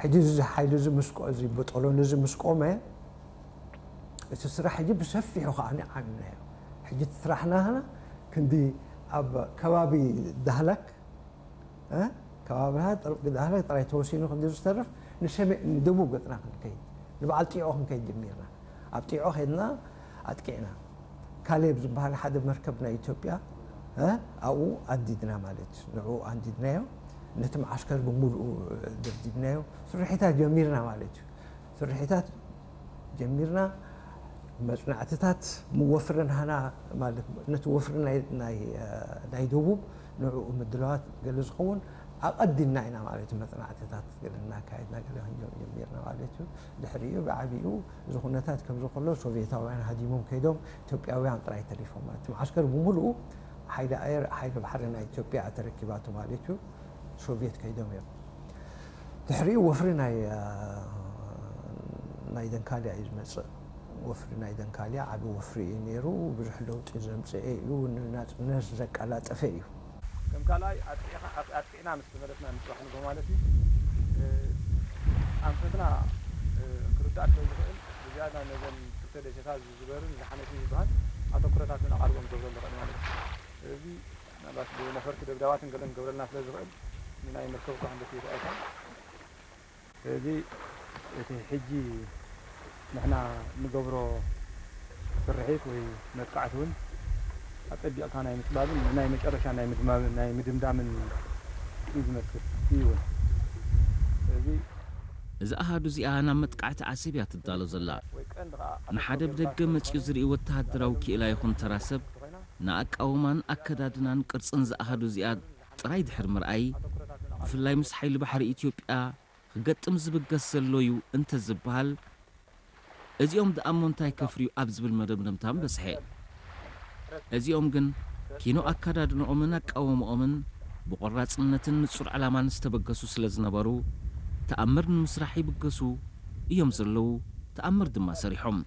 ሕጂ እዚ ሓይሊ እዚ ምስ ቆ-፣ እዚ ብጦሎን እዚ ምስ ቆመ፣ እቲ ስራሕ ሕጂ ብሰፊሑ ከኣ ዓሚምናዮ። ሕጂ እቲ ስራሕና ክንዲ ኣብ ከባቢ ዳህላክ፣ እ፣ ከባቢ ዳህላክ ጥራይ ተወሲኑ ክንዲ ዝተርፍ፣ ንሰሜ-፣ ንደቡብ ገጽና ክንከይድ፣ ንበዓል ጢዖ ክንከይድ ጀሚርና። ኣብ ጢዖ ከይድና ኣጥቂዕና። ካሌብ ዝበሃል ሓደ መርከብ ናይ ኢትዮጵያ፣ እ፣ ኣብኡ ኣንዲድና ማለት እዩ። ንዕኡ ኣንዲድናዮ፣ ነቲ መዓስከር ብምሉኡ ደብዲብናዮ። ስርሒታት ጀሚርና ማለት እዩ። ስርሒታት ጀሚርና፣ መጽናዕትታት ምወፍርን ሃና ማለት ነቲ ወፍሪ ናይ፣ ናይ፣ እ፣ ናይ ደቡብ ንዕኡ ምድላዋት ገለ ዝኸውን ኣቐዲምና ኢና ማለት እዩ። መጽናዕትታት ገለ እናካየድና ገለ ክንጀምር ጀሚርና ማለት እዩ። ድሕሪኡ ብዓቢኡ እዚ ኩነታት ከምዚ ከሎ ሶቪየታውያን ሃዲሞም ከይዶም ኢትዮጵያውያን ጥራይ ተሪፎም ማለት እዩ። መዓስከር ብምሉኡ ሓይሊ ኣየር፣ ሓይሊ ባሕሪ ናይ ኢትዮጵያ ተረኪባቶ ማለት እዩ። ሶቪየት ከይዶም እዮም። ድሕሪኡ ወፍሪ ናይ፣ እ፣ ናይ ደንካልያ እዩ ዝመጽእ። ወፍሪ ናይ ደንካልያ ዓቢ ወፍሪ እዩ ነይሩ። ብዙሕ ለውጢ ዘምጽኤ እዩ። ንናጽነት ዘቀላጠፈ እዩ። ከም ካልኣይ ኣጥቂዕኻ፣ ኣጥ-፣ ኣጥቂዕና ምስ ተመለስና ንጽባሕ ንግሆ ማለት እዩ። እ፣ ኣንፈትና፣ እ፣ ክርዳእ ስለ ዝኽእል ብዝያዳ ነዘን ክልተ ደሴታት ዝዝበርን ዝሓነትን ዝበሃል ኣተኩሮታት እውን ኣቓልቦ ንገብረሉ ኽእል ማለት እዩ። ስለዚ ምናልባት ብነፈርቲ ደብዳባትን ገለን ክገብረልና ስለ ዝኽእል ንናይ መርከብ እኳ ክንደቲ ይርኣየካ። ስለዚ እቲ ሕጂ ንሕና ንገብሮ ስርሒት ወይ መጥቃዕቲ እውን ኣጸቢቕካ ናይ ምጽባብን ናይ መጨረሻ ናይ ምድማምን፣ ናይ ምድምዳምን እዩ ዝመስል እዩ እውን። ስለዚ እዚ ኣሃዱ እዚኣ ናብ መጥቃዕቲ ዓሰብ እያ ትዳሎ ዘላ። ወይ ቀንዲ ኸኣ ንሓደ ኣተኮር ብደገ ጌርና መጺኡ ዝርኢ ወተሃደራዊ ክኢላ ይኹን ተራ ሰብ ንኣቃውማን ኣከዳድናን ቅርጽን ዝኣሃዱ እዚኣ ጥራይ ድሕሪ ምርኣይ፣ ብፍላይ ምስ ሓይሊ ባሕሪ ኢትዮጵያ ክገጥም ዝብገስ ዘሎ እዩ እንተዝበሃል፣ እዚኦም ደኣ እሞ እንታይ ከፍርዩ ኣብ ዝብል መደምደምታ ምበጽሐ። እዚኦም ግን ኪኖ ኣከዳድንኦምን ኣቃውምኦምን ብቖራጽነትን ንጹር ዕላማን ዝተበገሱ ስለ ዝነበሩ፣ ተኣምር ንምስራሕ ይብገሱ እዮም ዘለዉ፣ ተኣምር ድማ ሰሪሖም።